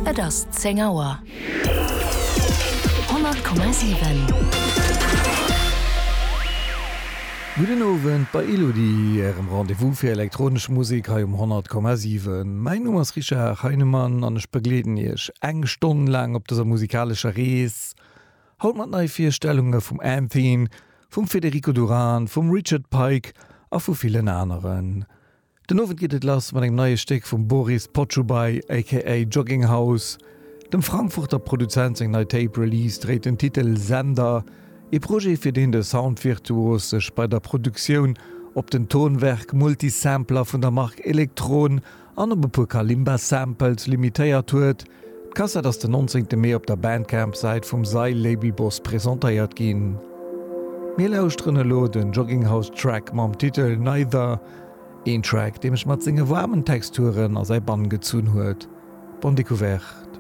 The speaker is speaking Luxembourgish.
Et ass 10 Auer. 100,7. Gudden Owend bei Elodie, Ärem Rendez-vous fir elektronesch Musek hei um 100,7. Mäin Numm ass Richard Heinemann an ech begleeden Iech eng Stonn laang op dëser musikalescher Rees. Haut mat Neivirstellunge vum Anthene, vum Federico Duran, vum Richard Pike a vu villen aneren. Den Owend geet et lass mat engem neie Stéck vum Boris Potschubay aka Jogging House. Dem Frankfurter Produzent seng nei Tape Release dréit den Titel Sender, ee Projet fir deen de Soundvirtuos sech bei der Produktioun op den Tonwerk Multisampler vun der Mark Elektron an op e puer Kalimba Samples limitéiert huet. D'Kassett ass den 19 Mee op der Bandcamp-Säit vum Sail-Label-Boss presentéiert ginn. Mir lauschteren elo den Jogging House Track mam Titel Neither, een Track dee mech mat senge waarmen Texturen a säi Bann gezunn huet. Bonne Découverte.